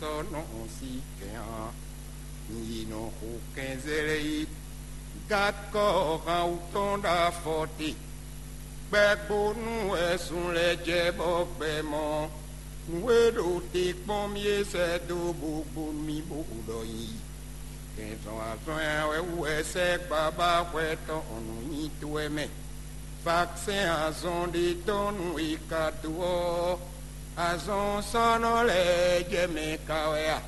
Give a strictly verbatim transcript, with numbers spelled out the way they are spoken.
Tɔ́ nɔ ɔ́ sí kɛn ɔ́, nyi yi nɔ xo kɛnzɛ́ lɛ́ɛ yi. Gakɔ hán wú tɔn ɖo afɔ te. Gbɛgbónú wɛ sun lɛ́ jɛ bɔ gbɛ mɔ. Nǔ e ɖo te kpɔ́n mì é sɛ́ dó bó gbónú mì bó ɖɔ nyi yi. Kɛnzɔn azɔn ɛ wɛ wú wɛ sɛ́ gbabá xwɛ tɔn ɔ́ nú nyi towe mɛ. Vakisɛn azɔn ɖé tɔn nú è ka dó ɔ́, azɔn sɔ́nɔ lɛ́ɛ jɛ mɛ ka wɛ a?